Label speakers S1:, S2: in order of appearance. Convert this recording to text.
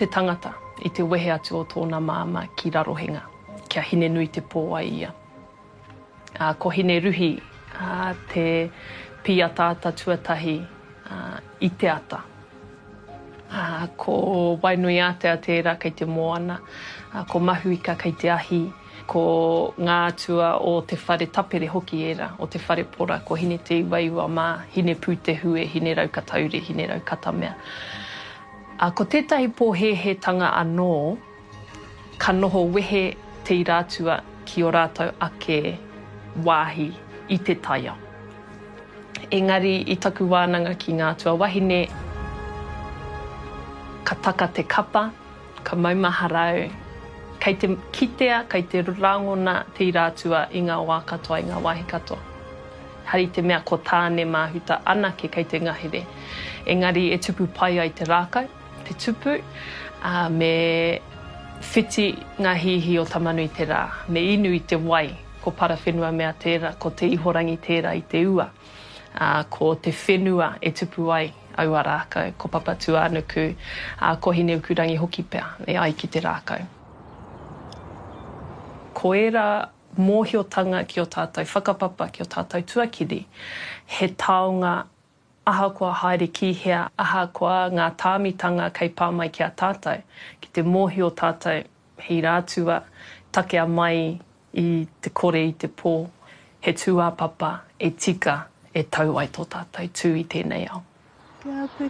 S1: Te tangata i te wehe atu o tōna māmā ki Rarohenga, kia Hinenuitepō ai ia. Ā, ko Hineruhi te pīataata tuatahi i te ata. Ā, ko Wainuiātea tērā kei te moana, ā, ko Mahuika kei te ahi, ko ngā atua o te whare tapere hoki ērā, o te whare pora, ko Hineteiwaiwa mā, Hinepūtehue, Hineraukatauri, Hineraukatameā. Ā, ko tētahi pōhēhētanga anō, ka noho wehe te ira atua ki ō rātou ake wāhi i te taiao. Engari i taku wānanga ki ngā atua wahine, ka taka te kapa, ka maumahara au, kei te kitea, kei te rangona te ira atua i ngā wā katoa, i ngā wāhi katoa. Hari te mea ko Tāne Māhuta anake kei te ngahere. Engari e tupu pai ai te rākau, te tupu, ā, me whiti ngā hīhī o Tamanui-te-rā, me inu i te wai, ko Parawhenuamea tērā, ko Te Ihorangi tērā i te ua, ā, ko te whenua e tupu ai aua rākau, ko Papatūānuku, ā, ko Hineukurangi hoki pea e ai ki te rākau. Ko ērā mōhiotanga ki ō tātou whakapapa, ki ō tātou tuakiri, he taonga ahakoa haere ki hea, ahakoa ngā tāmitanga kei pā mai ki a tātou, ki te mōhio tātou he ira atua, takea mai i te kore i te pō, he tūāpapa e tika e tau ai tō tātou tū i tēnei ao.
S2: Kia piki.